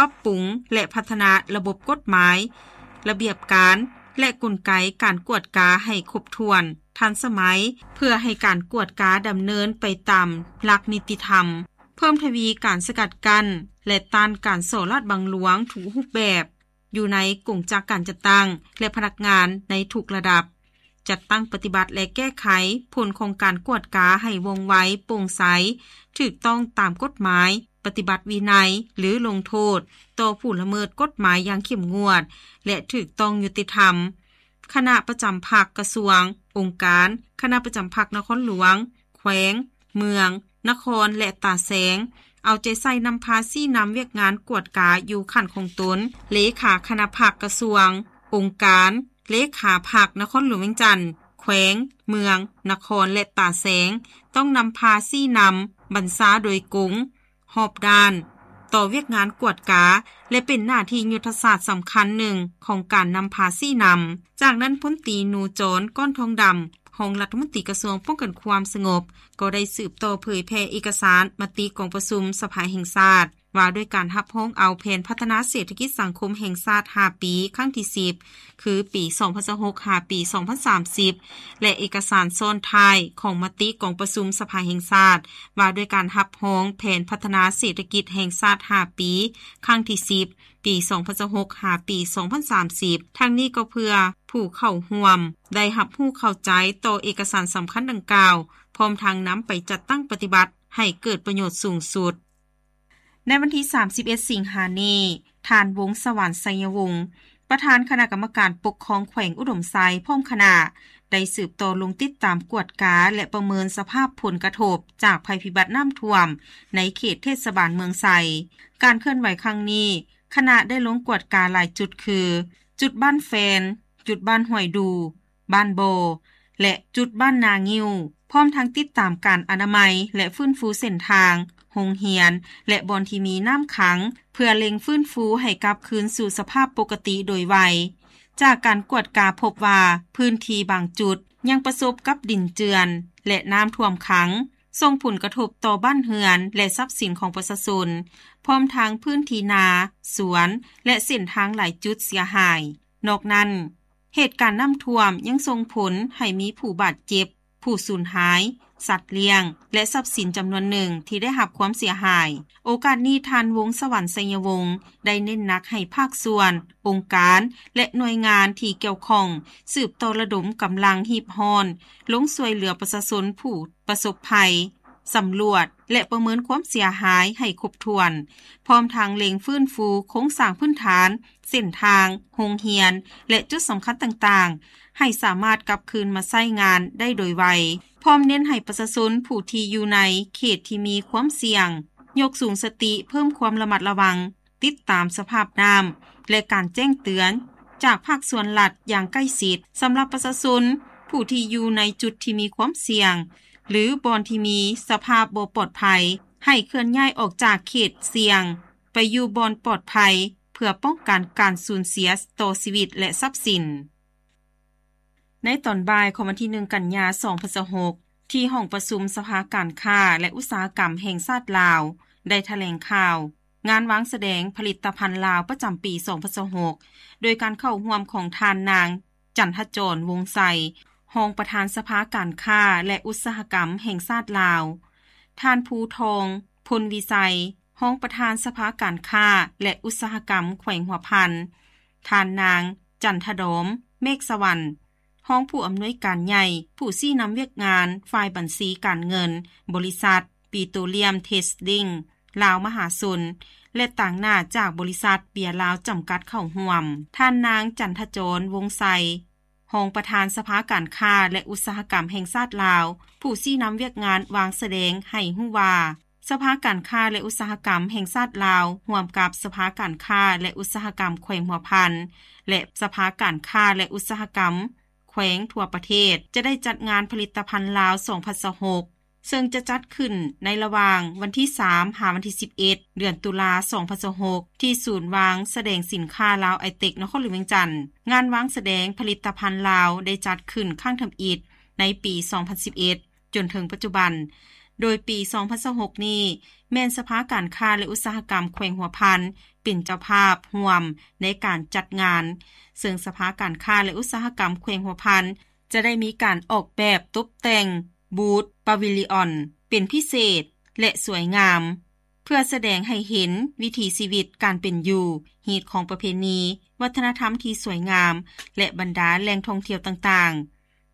ປັບປຸງ ແລະ ພັດທະນາລະບົບກົດໝາຍ, ລະບຽບການ ແລະ ກົນໄກການກວດກາໃຫ້ຄົບຖ້ວນ, ທັນສະໄໝ ເພື່ອໃຫ້ການກວດກາດຳເນີນໄປຕາມຫຼັກນິຕິທຳ, ເພີ່ມທະວີການສະກັດກັ້ນ ແລະ ຕ້ານການສໍ້ລາດບັງຫຼວງທຸກຮູບແບບ ຢູ່ໃນກົງຈັກການຈັດຕັ້ງ ແລະ ພະນັກງານໃນທຸກລະດັບ, ຈັດຕັ້ງປະຕິບັດ ແລະ ແກ້ໄຂຜົນຂອງການກວດກາໃຫ້ວ່ອງໄວ, ໂປ່ງໃສ, ຖືກຕ້ອງຕາມກົດໝາຍ, ປະຕິບັດວິໄນ ຫຼື ລົງໂທດຕໍ່ຜູ້ລະເມີດກົດໝາຍຢ່າງເຂັ້ມງວດ ແລະ ຖືກຕ້ອງຍຸຕິທຳ. ຄະນະປະຈຳພັກກະຊວງ, ອົງການ, ຄະນະປະຈຳພັກນະຄອນຫຼວງ, ແຂວງ, ເມືອງ, ນະຄອນ ແລະ ຕາແສງ ເອົາໃຈໃສ່ນຳພາຊີ້ນຳວຽກງານກວດກາຢູ່ຂັ້ນຂອງຕົນ. ເລຂາຄະນະພັກກະຊວງ, ອົງການ, ເລຂາພັກນະຄອນຫຼວງວຽງຈັນ, ແຂວງ, ເມືອງ, ນະຄອນ ແລະ ຕາແສງ ຕ້ອງນຳພາຊີ້ນຳບັນຊາໂດຍກົງ, ຮອບດ້ານ ຕໍ່ວຽກງານກວດກາ ແລະ ເປັນໜ້າທີ່ຍຸດທະສາດສຳຄັນໜຶ່ງຂອງການນຳພາຊີ້ນຳ. ຈາກນັ້ນ ພົນຕີ ນູຈອນ ກ້ອນທອງດຳ ຮອງລັດຖະມົນຕີກະຊວງປ້ອງກັນຄວາມສະຫງົບ ກໍໄດ້ສືບຕໍ່ເຜີຍແຜ່ເອກະສານມະຕິກອງປະຊຸມສະພາແຫ່ງຊາດ ວ່າດ້ວຍການຮັບຮອງເອົາແຜນພັດທະນາເສດຖະກິດສັງຄົມແຫ່ງຊາດຫ້າປີ ຄັ້ງທີສິບ ຄືປີສອງພັນຊາວຫົກ ຫາປີສອງພັນສາມສິບ ແລະ ເອກະສານຊ້ອນທ້າຍຂອງມະຕິກອງປະຊຸມສະພາແຫ່ງຊາດ ວ່າດ້ວຍການຮັບຮອງແຜນພັດທະນາເສດຖະກິດແຫ່ງຊາດຫ້າປີ ຄັ້ງທີສິບ ປີສອງພັນຊາວຫົກ ຫາປີສອງພັນສາມສິບ. ທັງນີ້ກໍເພື່ອຜູ້ເຂົ້າຮ່ວມໄດ້ຮັບຮູ້ເຂົ້າໃຈຕໍ່ເອກະສານສຳຄັນດັ່ງກ່າວ, ພ້ອມທັງນຳໄປຈັດຕັ້ງປະຕິບັດໃຫ້ເກີດປະໂຫຍດສູງສຸດ. ໃນວັນທີສາມສິບເອັດ ສິງຫານີ້, ທ່ານ ວົງສະຫວັນ ໄຊຍະວົງ ປະທານຄະນະກຳມະການປົກຄອງແຂວງອຸດົມໄຊ ພ້ອມຄະນະ ໄດ້ສືບຕໍ່ລົງຕິດຕາມກວດກາ ແລະ ປະເມີນສະພາບຜົນກະທົບຈາກໄພພິບັດນ້ຳຖ້ວມໃນເຂດເທດສະບານເມືອງໄຊ. ການເຄື່ອນໄຫວຄັ້ງນີ້, ຄະນະໄດ້ລົງກວດກາຫຼາຍຈຸດຄື ຈຸດບ້ານແຟນ, ຈຸດບ້ານຫ້ວຍດູ, ບ້ານບໍ່ ແລະ ຈຸດບ້ານນາງິ້ວ, ພ້ອມທັງຕິດຕາມການອະນາໄມ ແລະ ຟື້ນຟູເສັ້ນທາງ, ໂຮງຮຽນ ແລະ ບ່ອນທີ່ມີນ້ຳຂັງ ເພື່ອເລັ່ງຟື້ນຟູໃຫ້ກັບຄືນສູ່ສະພາບປົກກະຕິໂດຍໄວ. ຈາກການກວດກາພົບວ່າ ພື້ນທີ່ບາງຈຸດຍັງປະສົບກັບດິນເຈື່ອນ ແລະ ນ້ຳຖ້ວມຂັງ, ສົ່ງຜົນກະທົບຕໍ່ບ້ານເຮືອນ ແລະ ຊັບສິນຂອງປະຊາຊົນ, ພ້ອມທັງພື້ນທີ່ນາ, ສວນ ແລະ ເສັ້ນທາງຫຼາຍຈຸດເສຍຫາຍ. ນອກນັ້ນ, ເຫດການນ້ຳຖ້ວມຍັງສົ່ງຜົນໃຫ້ມີຜູ້ບາດເຈັບ, ຜູ້ສູນຫາຍ, ສັດລ້ຽງ ແລະ ຊັບສິນຈຳນວນໜຶ່ງທີ່ໄດ້ຮັບຄວາມເສຍຫາຍ. ໂອກາດນີ້, ທ່ານ ວົງສະຫວັນ ໄຊຍະວົງ ໄດ້ເນັ້ນໜັກໃຫ້ພາກສ່ວນ, ອົງການ ແລະ ໜ່ວຍງານທີ່ກ່ຽວຂ້ອງ ສືບຕໍ່ລະດົມກຳລັງຮີບຮ້ອນ ລົງຊ່ວຍເຫຼືອປະຊາຊົນຜູ້ປະສົບໄພ, ສຳຫຼວດ ແລະ ປະເມີນຄວາມເສຍຫາຍໃຫ້ຄົບຖ້ວນ, ພ້ອມທັງເລັ່ງຟື້ນຟູໂຄງສ້າງພື້ນຖານ, ເສັ້ນທາງ, ໂຮງຮຽນ ແລະ ຈຸດສຳຄັນຕ່າງໆ ໃຫ້ສາມາດກັບຄືນມາໃຊ້ງານໄດ້ໂດຍໄວ, ພ້ອມເນັ້ນໃຫ້ປະຊາຊົນຜູ້ທີ່ຢູ່ໃນເຂດທີ່ມີຄວາມສ່ຽງ ຍົກສູງສະຕິເພີ່ມຄວາມລະມັດລະວັງ, ຕິດຕາມສະພາບນ້ຳ ແລະ ການແຈ້ງເຕືອນຈາກພາກສ່ວນລັດຢ່າງໃກ້ຊິດ. ສຳລັບປະຊາຊົນຜູ້ທີ່ຢູ່ໃນຈຸດທີ່ມີຄວາມສ່ຽງ ຫຼື ບ່ອນທີ່ມີສະພາບບໍ່ປອດໄພ, ໃຫ້ເຄື່ອນຍ້າຍອອກຈາກເຂດສ່ຽງໄປຢູ່ບ່ອນປອດໄພ ເພື່ອປ້ອງກັນການສູນເສຍຕໍ່ຊີວິດ ແລະ ຊັບສິນ. ໃນຕອນບ່າຍຂອງວັນທີໜຶ່ງ ກັນຍາ ສອງພັນຊາວຫົກ ທີ່ຫ້ອງປະຊຸມສະພາການຄ້າ ແລະ ອຸດສາຫະກຳແຫ່ງຊາດລາວ ໄດ້ຖະແຫຼງຂ່າວ ງານວາງສະແດງຜະລິດຕະພັນລາວປະຈຳປີສອງພັນຊາວຫົກ ໂດຍການເຂົ້າຮ່ວມຂອງທ່ານນາງ ຈັນທະຈອນ ວົງໄຊ ຮອງປະທານສະພາການຄ້າ ແລະ ອຸດສາຫະກຳແຫ່ງຊາດລາວ, ທ່ານ ພູທອງ ພົນວິໄຊ ຮອງປະທານສະພາການຄ້າ ແລະ ອຸດສາຫະກຳແຂວງຫົວພັນ, ທ່ານນາງ ຈັນທະດອມ ເມກສະຫວັນ ຮອງຜູ້ອຳນວຍການໃຫຍ່ ຜູ້ຊີ້ນຳວຽກງານຝ່າຍບັນຊີການເງິນ ບໍລິສັດ ປີໂຕລຽມ ເທຣດດິ້ງ ລາວມະຫາຊົນ ແລະ ຕາງໜ້າຈາກບໍລິສັດເບຍລາວຈຳກັດເຂົ້າຮ່ວມ. ທ່ານນາງ ຈັນທະຈອນ ວົງໄຊ ຮອງປະທານສະພາການຄ້າ ແລະ ອຸດສາຫະກຳແຫ່ງຊາດລາວ ຜູ້ຊີ້ນຳວຽກງານວາງສະແດງໃຫ້ຮູ້ວ່າ ສະພາການຄ້າ ແລະ ອຸດສາຫະກຳແຫ່ງຊາດລາວ ຮ່ວມກັບສະພາການຄ້າ ແລະ ອຸດສາຫະກຳແຂວງຫົວພັນ ແລະ ສະພາການຄ້າ ແລະ ອຸດສາຫະກຳແຂວງທົ່ວປະເທດ ຈະໄດ້ຈັດງານຜະລິດຕະພັນລາວສອງພັນຊາວຫົກ ເຊິ່ງຈະຈັດຂຶ້ນໃນລະຫວ່າງວັນທີສາມ ຫາວັນທີສິບເອັດ ເດືອນຕຸລາ ສອງພັນຊາວຫົກ ທີ່ສູນວາງສະແດງສິນຄ້າລາວໄອເຕັກ ນະຄອນຫຼວງວຽງຈັນ. ງານວາງສະແດງຜະລິດຕະພັນລາວໄດ້ຈັດຂຶ້ນຄັ້ງທຳອິດໃນປີສອງພັນສິບເອັດ ຈົນເຖິງປັດຈຸບັນ ໂດຍປີສອງພັນຊາວຫົກນີ້ ແມ່ນສະພາການຄ້າ ແລະ ອຸດສາຫະກຳແຂວງຫົວພັນ ເປັນເຈົ້າພາບຮ່ວມໃນການຈັດງານ, ເຊິ່ງສະພາການຄ້າ ແລະ ອຸດສາຫະກຳແຂວງຫົວພັນ ຈະໄດ້ມີການອອກແບບຕົບແຕ່ງບູດ ປາວິລິອອນ ເປັນພິເສດ ແລະ ສວຍງາມ ເພື່ອສະແດງໃຫ້ເຫັນວິຖີຊີວິດການເປັນຢູ່, ຮີດຄອງປະເພນີ, ວັດທະນະທຳທີ່ສວຍງາມ ແລະ ບັນດາແຫຼ່ງທ່ອງທ່ຽວຕ່າງ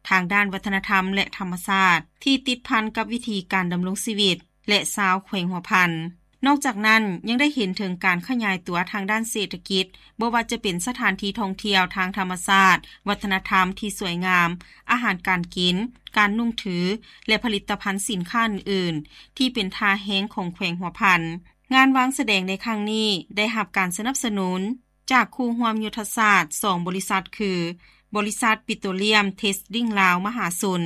ໆ ທາງດ້ານວັດທະນະທຳ ແລະ ທຳມະຊາດ ທີ່ຕິດພັນກັບວິຖີການດຳລົງຊີວິດ ແລະ ຊາວແຂວງຫົວພັນ. ນອກຈາກນັ້ນ ຍັງໄດ້ເຫັນເຖິງການຂະຫຍາຍຕົວທາງດ້ານເສດຖະກິດ, ບໍ່ວ່າຈະເປັນສະຖານທີ່ທ່ອງທ່ຽວທາງທຳມະຊາດ, ວັດທະນະທຳທີ່ສວຍງາມ, ອາຫານການກິນ, ການນຸ່ງຖື ແລະ ຜະລິດຕະພັນສິນຄ້າອື່ນໆ ທີ່ເປັນທ່າແຮງຂອງແຂວງຫົວພັນ. ງານວາງສະແດງໃນຄັ້ງນີ້ໄດ້ຮັບການສະໜັບສະໜູນ ຈາກຄູ່ຮ່ວມຍຸດທະສາດສອງບໍລິສັດ ຄື ບໍລິສັດປິໂຕລຽມເທສດິ້ງລາວມະຫາຊົນ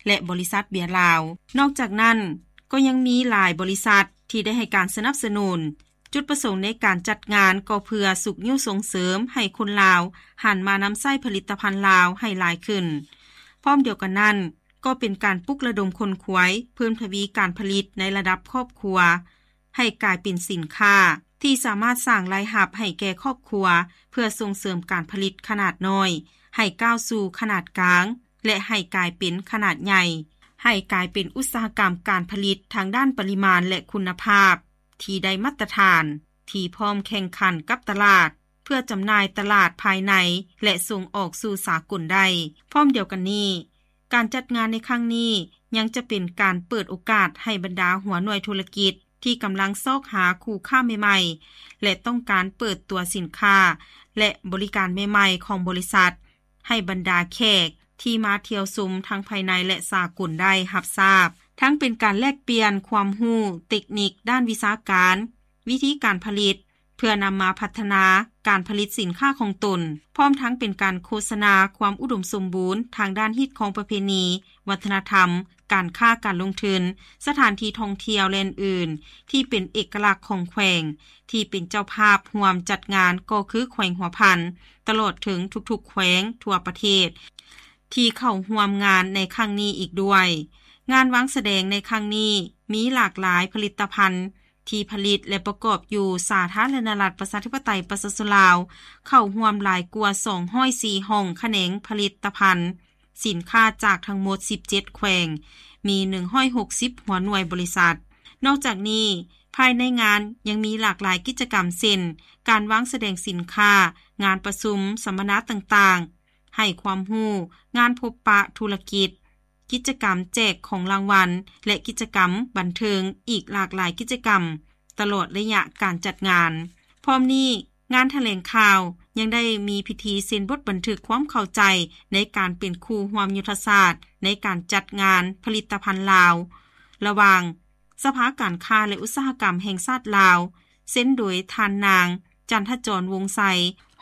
ແລະ ບໍລິສັດເບຍລາວ. ນອກຈາກນັ້ນ ກໍຍັງມີຫຼາຍບໍລິສັດທີ່ໄດ້ໃຫ້ການສະໜັບສະໜູນ. ຈຸດປະສົງໃນການຈັດງານກໍເພື່ອຊຸກຍູ້ສົ່ງເສີມໃຫ້ຄົນລາວຫັນມານຳໃຊ້ຜະລິດຕະພັນລາວໃຫ້ຫຼາຍຂຶ້ນ. ພ້ອມດຽວກັນນັ້ນ ກໍເປັນການປຸກລະດົມຂົນຂວາຍ, ເພີ່ມທະວີການຜະລິດໃນລະດັບຄອບຄົວ ໃຫ້ກາຍເປັນສິນຄ້າທີ່ສາມາດສ້າງລາຍຮັບໃຫ້ແກ່ຄອບຄົວ ເພື່ອສົ່ງເສີມການຜະລິດຂະໜາດນ້ອຍ ໃຫ້ກ້າວສູ່ຂະໜາດກາງ ແລະ ໃຫ້ກາຍເປັນຂະໜາດໃຫຍ່, ໃຫ້ກາຍເປັນອຸດສາຫະກຳການຜະລິດທາງດ້ານປະລິມານ ແລະ ຄຸນນະພາບທີ່ໄດ້ມາດຕະຖານ, ທີ່ພ້ອມແຂ່ງຂັນກັບຕະຫຼາດ ເພື່ອຈຳໜ່າຍຕະຫຼາດພາຍໃນ ແລະ ສົ່ງອອກສູ່ສາກົນໄດ້. ພ້ອມດຽວກັນນີ້, ການຈັດງານໃນຄັ້ງນີ້ ຍັງຈະເປັນການເປີດໂອກາດໃຫ້ບັນດາຫົວໜ່ວຍທຸລະກິດ ທີ່ກຳລັງຊອກຫາຄູ່ຄ້າໃໝ່ໆ ແລະ ຕ້ອງການເປີດຕົວສິນຄ້າ ແລະ ບໍລິການໃໝ່ໆຂອງບໍລິສັດ ໃຫ້ບັນດາແຂກທີ່ມາທ່ຽວຊົມທັງພາຍໃນ ແລະ ສາກົນໄດ້ຮັບຊາບ, ທັງເປັນການແລກປ່ຽນຄວາມຮູ້ເຕັກນິກດ້ານວິຊາການ, ວິທີການຜະລິດ ເພື່ອນຳມາພັດທະນາການຜະລິດສິນຄ້າຂອງຕົນ, ພ້ອມທັງເປັນການໂຄສະນາຄວາມອຸດົມສົມບູນທາງດ້ານຮີດຄອງປະເພນີ, ວັດທະນະທຳ, ການຄ້າການລົງທຶນ, ສະຖານທີ່ທ່ອງທ່ຽວ ແລະ ອື່ນໆ ທີ່ເປັນເອກະລັກຂອງແຂວງ ທີ່ເປັນເຈົ້າພາບຮ່ວມຈັດງານກໍຄືແຂວງຫົວພັນ, ຕະຫຼອດເຖິງທຸກໆແຂວງທົ່ວປະເທດ ທີ່ເຂົ້າຮ່ວມງານໃນຄັ້ງນີ້ອີກດ້ວຍ. ງານວາງສະແດງໃນຄັ້ງນີ້ມີຫຼາກຫຼາຍຜະລິດຕະພັນ ທີ່ຜະລິດ ແລະ ປະກອບຢູ່ສາທາລະນະລັດ ປະຊາທິປະໄຕ ປະຊາຊົນລາວ ເຂົ້າຮ່ວມຫຼາຍກວ່າສອງຮ້ອຍສີ່ຫ້ອງຂະແໜງຜະລິດຕະພັນ, ສິນຄ້າຈາກທັງໝົດສິບເຈັດແຂວງ, ມີໜຶ່ງຮ້ອຍຫົກສິບຫົວໜ່ວຍບໍລິສັດ. ນອກຈາກນີ້, ພາຍໃນງານຍັງມີຫຼາກຫຼາຍກິດຈະກຳ ເຊັ່ນ ການວາງສະແດງສິນຄ້າ, ງານປະຊຸມ, ສຳມະນາຕ່າງໆ, ໃຫ້ຄວາມຮູ້, ງານພົບປະທຸລະກິດ, ກິດຈະກຳແຈກຂອງລາງວັນ ແລະ ກິດຈະກຳບັນເທີງອີກຫຼາກຫຼາຍກິດຈະກຳ ຕະຫຼອດໄລຍະການຈັດງານ. ພ້ອມນີ້, ງານຖະແຫຼງຂ່າວຍັງໄດ້ມີພິທີເຊັນບົດບັນທຶກຄວາມເຂົ້າໃຈໃນການເປັນຄູ່ຮ່ວມຍຸດທະສາດໃນການຈັດງານຜະລິດຕະພັນລາວ ລະຫວ່າງສະພາການຄ້າ ແລະ ອຸດສາຫະກຳແຫ່ງຊາດລາວ ເຊັນໂດຍທ່ານນາງ ຈັນທະຈອນ ວົງໄຊ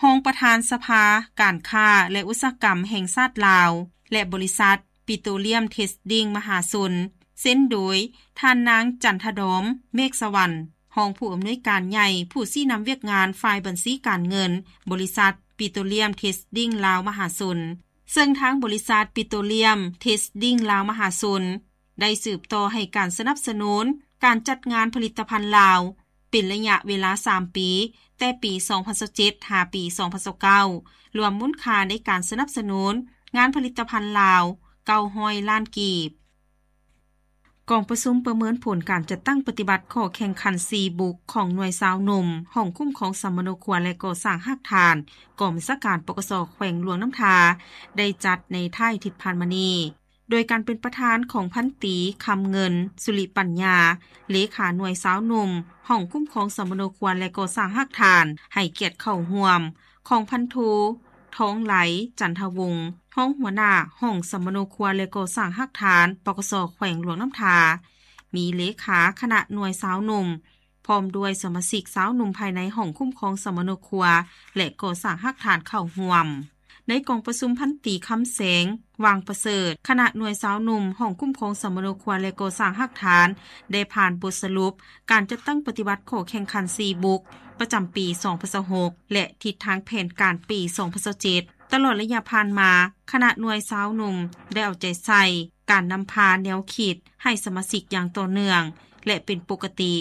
ຮອງປະທານສະພາການຄ້າ ແລະ ອຸດສາຫະກຳແຫ່ງຊາດລາວ ແລະ ບໍລິສັດ ປິໂຕລຽມເທສດິ້ງມະຫາຊົນ, ເຊັນໂດຍທ່ານນາງ ຈັນທະດອມ ເມກສະຫວັນ ຮອງຜູ້ອຳນວຍການໃຫຍ່ ຜູ້ຊີ້ນຳວຽກງານຝ່າຍບັນຊີການເງິນ ບໍລິສັດ ປິໂຕລຽມເທສດິ້ງລາວມະຫາຊົນ, ເຊິ່ງທາງບໍລິສັດ ປິໂຕລຽມເທສດິ້ງລາວມະຫາຊົນ ໄດ້ສືບຕໍ່ໃຫ້ການສະໜັບສະໜູນການຈັດງານຜະລິດຕະພັນລາວ ເປັນໄລຍະເວລາສາມປີ, ແຕ່ປີສອງພັນຊາວເຈັດ ຫາປີສອງພັນຊາວເກົ້າ ລວມມູນຄ່າໃນການສະໜັບສະໜູນງານຜະລິດຕະພັນລາວ ເກົ້າຮ້ອຍລ້ານກີບ. ກອງປະຊຸມປະເມີນຜົນການຈັດຕັ້ງປະຕິບັດຂໍ້ແຂ່ງຂັນສີ່ບຸກຂອງໜ່ວຍຊາວໜຸ່ມ ຫ້ອງຄຸ້ມຄອງສຳມະໂນຄົວ ແລະ ກໍ່ສ້າງຮາກຖານ ກອງບັນຊາການ ປກສ ແຂວງຫຼວງນ້ຳທາ ໄດ້ຈັດໃນທ້າຍທິດຜ່ານມານີ້. ໂດຍການເປັນປະທານຂອງພັນຕີ ຄຳເງິນ ສຸລິປັນຍາ ເລຂາໜ່ວຍຊາວໜຸ່ມ ຫ້ອງຄຸ້ມຄອງສຳມະໂນຄົວ ແລະ ກໍ່ສ້າງຮາກຖານ ໃຫ້ກຽດເຂົ້າຮ່ວມ ຂອງພັນໂທ ທອງໄຫຼ ຈັນທະວົງ ຮອງຫົວໜ້າຫ້ອງສຳມະໂນຄົວ ແລະ ກໍ່ສ້າງຮາກຖານ ປກສ ແຂວງຫຼວງນ້ຳທາ, ມີເລຂາຄະນະໜ່ວຍຊາວໜຸ່ມ ພ້ອມດ້ວຍສະມາຊິກຊາວໜຸ່ມພາຍໃນຫ້ອງຄຸ້ມຄອງສຳມະໂນຄົວ ແລະ ກໍ່ສ້າງຮາກຖານເຂົ້າຮ່ວມ. ໃນກອງປະຊຸມ ພັນຕີ ຄຳແສງ ຫວ່າງປະເສີດ ຄະນະໜ່ວຍຊາວໜຸ່ມ ຫ້ອງຄຸ້ມຄອງສຳມະໂນຄົວ ແລະ ກໍ່ສ້າງຮາກຖານ ໄດ້ຜ່ານບົດສະຫຼຸບການຈັດຕັ້ງປະຕິບັດຂໍ້ແຂ່ງຂັນສີ່ບຸກ ປະຈຳປີສອງພັນຊາວຫົກ ແລະ ທິດທາງແຜນການປີສອງພັນຊາວເຈັດ. ຕະຫຼອດໄລຍະຜ່ານມາ, ຄະນະໜ່ວຍຊາວໜຸ່ມໄດ້ເອົາໃຈໃສ່ ການນຳພາແນວຄິດໃຫ້ສະມາຊິກຢ່າງຕໍ່ເນື່ອງ ແລະ ເປັນປົກກະຕິ,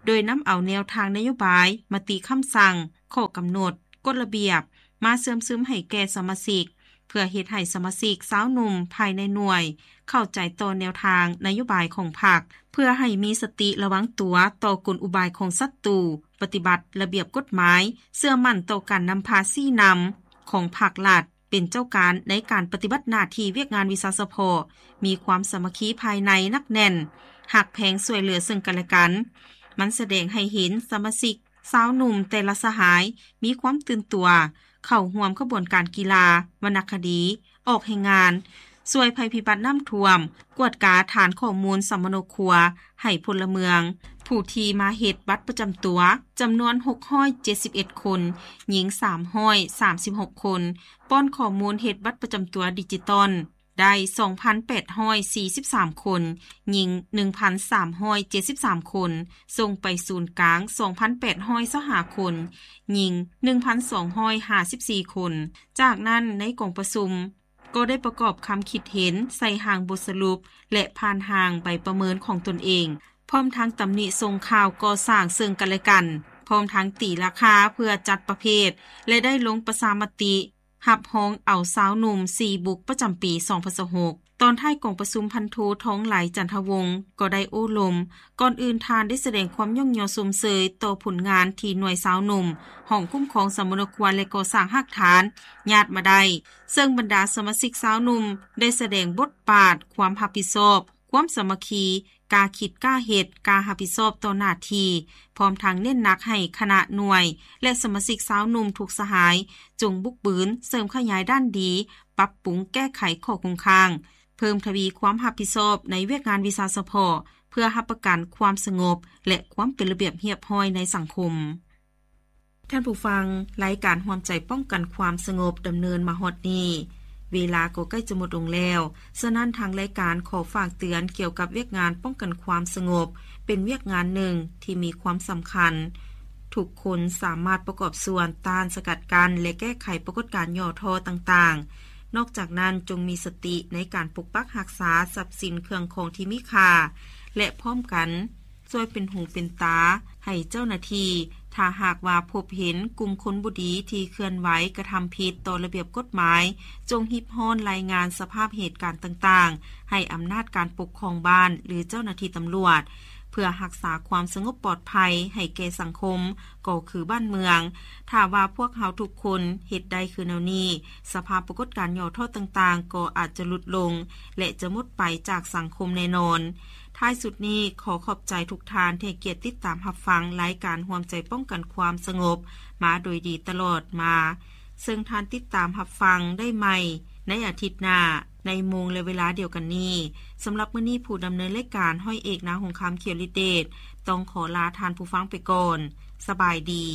ໂດຍນຳເອົາແນວທາງນະໂຍບາຍ, ມະຕິຄຳສັ່ງ, ຂໍ້ກຳນົດ, ກົດລະບຽບ ມາເຊື່ອມຊຶມໃຫ້ແກ່ສະມາຊິກ, ເພື່ອເຮັດໃຫ້ສະມາຊິກຊາວໜຸ່ມພາຍໃນໜ່ວຍເຂົ້າໃຈຕໍ່ແນວທາງນະໂຍບາຍຂອງພັກ, ເພື່ອໃຫ້ມີສະຕິລະວັງຕົວຕໍ່ກົນອຸບາຍຂອງສັດຕູ, ປະຕິບັດລະບຽບກົດໝາຍ, ເຊື່ອໝັ້ນຕໍ່ການນຳພາຊີ້ນຳຂອງພັກລັດ ເປັນເຈົ້າການໃນການປະຕິບັດໜ້າທີ່ວຽກງານວິຊາສະເພາະ, ມີຄວາມສາມັກຄີພາຍໃນໜັກແໜ້ນ, ຮັກແພງຊ່ວຍເຫຼືອເຊິ່ງກັນແລະກັນ. ມັນສະແດງໃຫ້ເຫັນສະມາຊິກຊາວໜຸ່ມແຕ່ລະສະຫາຍມີຄວາມຕື່ນຕົວ ເຂົ້າຮ່ວມຂະບວນການກິລາ, ວັນນະຄະດີ, ອອກແຮງງານ, ຊ່ວຍໄພພິບັດນ້ຳຖ້ວມ, ກວດກາຖານຂໍ້ມູນສຳມະໂນຄົວໃຫ້ພົນລະເມືອງ, ຜູ້ທີ່ມາເຮັດບັດປະຈຳຕົວ ຈຳນວນຫົກຮ້ອຍເຈັດສິບເອັດຄົນ, ຍິງສາມຮ້ອຍສາມສິບຫົກຄົນ, ປ້ອນຂໍ້ມູນເຮັດບັດປະຈຳຕົວດິຈິຕອນ ໄດ້ສອງພັນແປດຮ້ອຍສີ່ສິບສາມຄົນ, ຍິງໜຶ່ງພັນສາມຮ້ອຍເຈັດສິບສາມຄົນ, ສົ່ງໄປສູນກາງສອງພັນແປດຮ້ອຍຊາວຫ້າຄົນ, ຍິງໜຶ່ງພັນສອງຮ້ອຍຫ້າສິບສີ່ຄົນ. ຈາກນັ້ນໃນກອງປະຊຸມກໍໄດ້ປະກອບຄຳຄິດເຫັນໃສ່ຮ່າງບົດສະຫຼຸບ ແລະ ຜ່ານຮ່າງໃບປະເມີນຂອງຕົນເອງ, ພ້ອມທັງຕຳໜິສົ່ງຂ່າວກໍ່ສ້າງເຊິ່ງກັນແລະກັນ, ພ້ອມທັງຕີລາຄາເພື່ອຈັດປະເພດ ແລະ ໄດ້ລົງປະຊາມະຕິ ຮັບຮອງເອົາຊາວໜຸ່ມສີ່ບຸກປະຈຳປີສອງພັນຊາວຫົກ. ຕອນທ້າຍກອງປະຊຸມ ພັນໂທ ທອງໄຫຼ ຈັນທະວົງ ກໍໄດ້ໂອ້ລົມ. ກ່ອນອື່ນທ່ານໄດ້ສະແດງຄວາມຍ້ອງຍໍຊົມເຊີຍຕໍ່ຜົນງານທີ່ໜ່ວຍຊາວໜຸ່ມ ຫ້ອງຄຸ້ມຄອງສຳມະໂນຄົວ ແລະ ກໍ່ສ້າງຮາກຖານຍາດມາໄດ້, ເຊິ່ງບັນດາສະມາຊິກຊາວໜຸ່ມໄດ້ສະແດງບົດບາດ, ຄວາມຮັບຜິດຊອບ, ຄວາມສາມັກຄີ, ກ້າຄິດກ້າເຮັດ, ກ້າຮັບຜິດຊອບຕໍ່ໜ້າທີ່, ພ້ອມທັງເນັ້ນໜັກໃຫ້ຄະນະໜ່ວຍ ແລະ ສະມາຊິກຊາວໜຸ່ມທຸກສະຫາຍ ຈົ່ງບຸກບືນເສີມຂະຫຍາຍດ້ານດີ, ປັບປຸງແກ້ໄຂຂໍ້ຄົງຄ້າງ, ເພີ່ມທະວີຄວາມຮັບຜິດຊອບໃນວຽກງານວິຊາສະເພາະ ເພື່ອຮັບປະກັນຄວາມສະຫງົບ ແລະ ຄວາມເປັນລະບຽບຮຽບຮ້ອຍໃນສັງຄົມ. ທ່ານຜູ້ຟັງ, ລາຍການຮ່ວມໃຈປ້ອງກັນຄວາມສະຫງົບດຳເນີນມາຮອດນີ້, ເວລາກໍໃກ້ຈະໝົດລົງແລ້ວ. ສະນັ້ນ ທາງລາຍການຂໍຝາກເຕືອນກ່ຽວກັບວຽກງານປ້ອງກັນຄວາມສະຫງົບ ເປັນວຽກງານໜຶ່ງທີ່ມີຄວາມສຳຄັນ. ທຸກຄົນສາມາດປະກອບສ່ວນຕ້ານ, ສະກັດກັ້ນ ແລະ ແກ້ໄຂປາກົດການຫຍໍ້ທໍ້ຕ່າງໆ. ນອກຈາກນັ້ນ, ຈົ່ງມີສະຕິໃນການປົກປັກຮັກສາຊັບສິນເຄື່ອງຂອງທີ່ມີຄ່າ ແລະ ພ້ອມກັນ ຊ່ວຍເປັນຫູເປັນຕາໃຫ້ເຈົ້າໜ້າທີ່, ຖ້າຫາກວ່າພົບເຫັນກຸ່ມຄົນບໍ່ດີທີ່ເຄື່ອນໄຫວກະທຳຜິດຕໍ່ລະບຽບກົດໝາຍ, ຈົ່ງຮີບຮ້ອນລາຍງານສະພາບເຫດການຕ່າງໆ ໃຫ້ອຳນາດການປົກຄອງບ້ານ ຫຼື ເຈົ້າໜ້າທີ່ຕຳຫຼວດ, ເພື່ອຮັກສາຄວາມສະຫງົບປອດໄພໃຫ້ແກ່ສັງຄົມ ກໍຄືບ້ານເມືອງ. ຖ້າວ່າພວກເຮົາທຸກຄົນເຮັດໄດ້ຄືແນວນີ້, ສະພາບປາກົດການຫຍໍ້ທໍ້ຕ່າງໆ ກໍອາດຈະຫຼຸດລົງ ແລະ ຈະໝົດໄປຈາກສັງຄົມແນ່ນອນ. ທ້າຍສຸດນີ້, ຂໍຂອບໃຈທຸກທ່ານທີ່ໃຫ້ກຽດຕິດຕາມຮັບຟັງລາຍການຮ່ວມໃຈປ້ອງກັນຄວາມສະຫງົບມາໂດຍດີຕະຫຼອດມາ, ເຊິ່ງທ່ານຕິດຕາມຮັບຟັງໄດ້ໃໝ່ໃນອາທິດໜ້າ ໃນໂມງ ແລະ ເວລາດຽວກັນນີ້. ສຳລັບມື້ນີ້, ຜູ້ດຳເນີນລາຍການ ຮ້ອຍເອກ ນາຫົງຄຳ ຂຽວລິດເດດ ຕ້ອງຂໍລາທ່ານຜູ້ຟັງໄປກ່ອນ. ສະບາຍດີ.